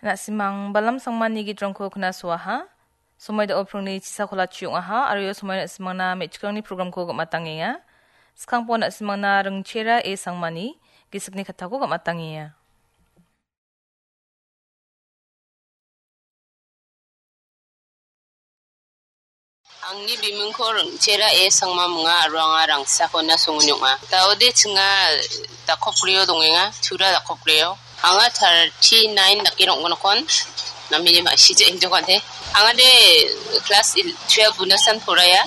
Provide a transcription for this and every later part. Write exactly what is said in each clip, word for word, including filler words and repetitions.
Na·simang balam sangmani gitrangko knasoaha. Somoi da·o prongni chisakola chiong·aha, aro ia somoi na·simangna me·chikrangni programko gam·atangenga. Skangpo na·simangna Ringchera A Sangmani gisikni kattako gam·atangenga. Angni bimingko Ringchera A Sangma munga aro anga Rangsakona songon ong·a. Daode chinga dakopgrio dongenga, Tura dakopgrio. Anga thirty-nine dake rong·gnokon, namini ma·sija injokante. Anga de class il-, twelve unasan poraiya.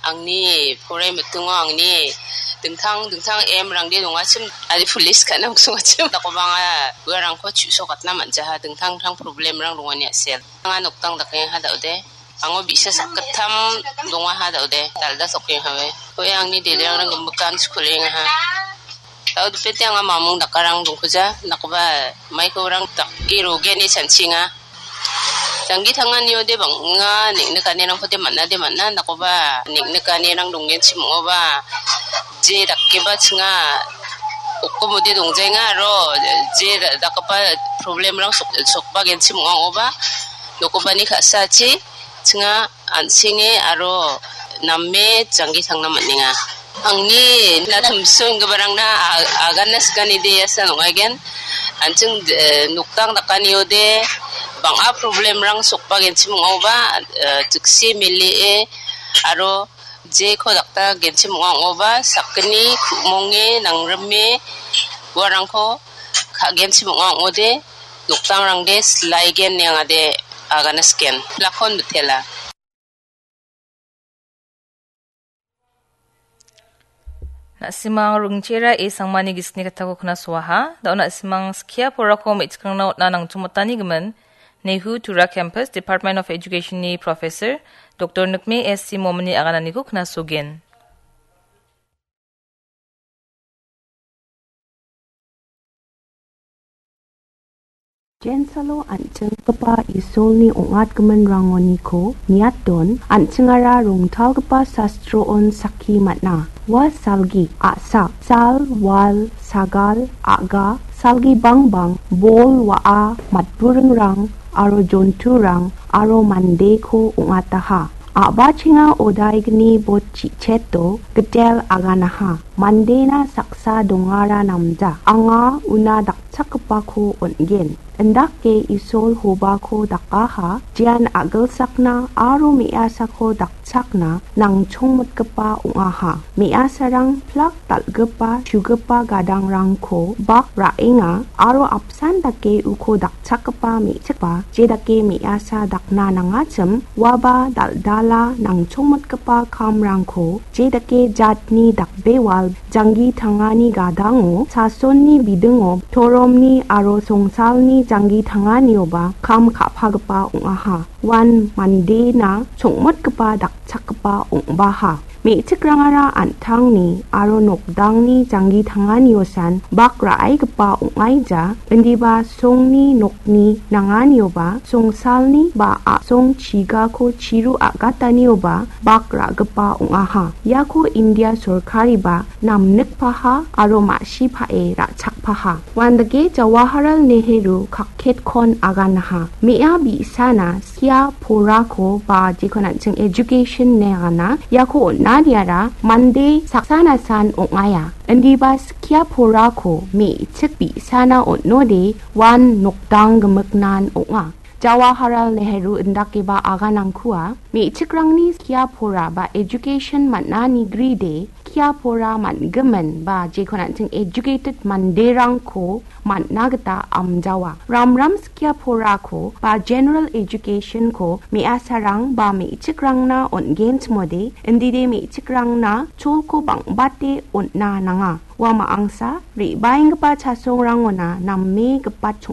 Angni porai mitingo angni dingtang dingtang M rangde dongachim, adi police ka·na oksongachim. Dakoba anga uarangko chu·sokatna man·jaha, dingtang dingtang problemrang dongani a·sel. Anga noktang dakengaha daode. Ango bi·sa sakgittam dongaha daode. Dalda sokengaha we. Oe angni dederangrang gimikkan skulengaha. Daodipete anga mamung dakarang dongkuja. Nakoba maiko orang dake rogeni chanchinga. Janggi tanganiode bang·a neng·nikanirangkode man·ade man·a, nakoba neng·nikanirang donggenchim ong·oba je dakeba chinga okkomode dongjaenga aro je da-, dakgipa problemrang sok-, sokba genchim ong·a ong·oba nokobani ka·sachi chinga an·senge aro name janggi tangna man·enga. Angni na tumso inggiparangna a-, agana sikani de asan ong·aigen. An·ching, eh, noktang dakaniode bang·a problemrang sokba genchim ong·aoba, eh, jiksi melie aro jeko dakta genchim ong·a ong·oba sakgni ku·monge nangrime uarangko ka·genchim ong·a ong·ode noktangrangde silaigen niangade agana siken. Lakon mitela. Na·simang Ringchera A Sangmani gisikni kattako knasoaha. Da·o na·simang skia porako me·chikrangna on·a nangchongmotani gimin, Nehu Tura Campus, Department of Education-ni Professor, Doktor Nikme S C Momini agananiko knasogen. Jensalo an·chinggipa Isolni ong·atgiminrangoniko niaton, an·chingara rongtalgipa sastroon sakki man·a. Ua salgi, a·sa, sal, wal, sagal, a·ga, salgi bangbang, bol, wa·a, matburingrang, aro jonturang, aro mandeko ong·ataha. A·bachenga odaigni bot chi·cheto gitel aganaha. Mandena saksa dongara namja. Anga una dakchakgipako on·gen. Indake Isol hobako dakaha, jean a·gilsakna aro me·asako dakchakna nangchongmotgipa ong·aha. Me·asarang plak dal·gipa, chugipa gadangrangko bak ra·enga aro apsan dake uko dakchakgipa me·chikba, jedake me·asa dakna nangachim, uaba dal·dala nangchongmotgipa kamrangko, jedake jatni dakbewal janggi tangani gadango, sasonni bidingo, toromni aro songsalni janggi tanganioba kam ka·pagipa ong·aha. Uan mandena chongmotgipa dakchakgipa ong·baha. Me·chikrangara an·tangni aro nokdangni janggi tanganiosan bak ra·aigipa ong·aija, indiba songni nokni nanganioba, songsalni ba a·song chigako chiru a·gatanioba bak ra·gipa ong·aha. Iako India sorkariba namnikpaha aro ma·sipae ra·chakpaha. Uandake Jawaharlal Nehru kakketkon aganaha. Me·a bi·sana skia porako ba jekon an·ching education ine agana, iako on·adiara mande saksanasan ong·aia. Indiba skia porako me·chik bi·sana on·ode uan nokdang gimiknan ong·a. Jawaharlal Nehru indakeba aganangkua me·chikrangni skia pora ba education man·ani gride skia pora man·gimin ba jekon an·ching educated manderangko man·na gita amjawa. Ramram skia porako ba general education-ko me·asarang ba me·chikrangna on·genchimode, indide me·chikrangna cholko bang·bate on·na nanga. Ua ma·angsa re·baenggipa chasongrangona name gipatchong